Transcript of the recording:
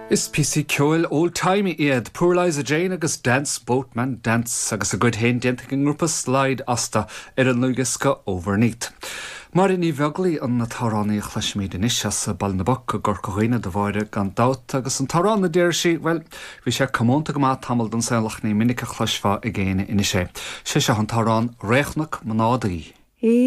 Is píosaí ceoil old-timey iad Poor Liza Jane agus Dance Boatman Dance agus a gcuid féin déanta ag an ngrúpa Slide astu ar an ndlúthdhiosca Overneath. Máire Ní Bheaglaoi an t-amhránaí a chloisfimid anois as Baile na bPoc i gCorca Dhuibhne do Mháire gan dabht agus an t-amhrán a deir sí, bhuel, bhí sé comónta go maith tamall den saol ach ní minic a chloisfeá ag éinne anois é. Sé seo an t-amhrán Réchonac mo Nádaí.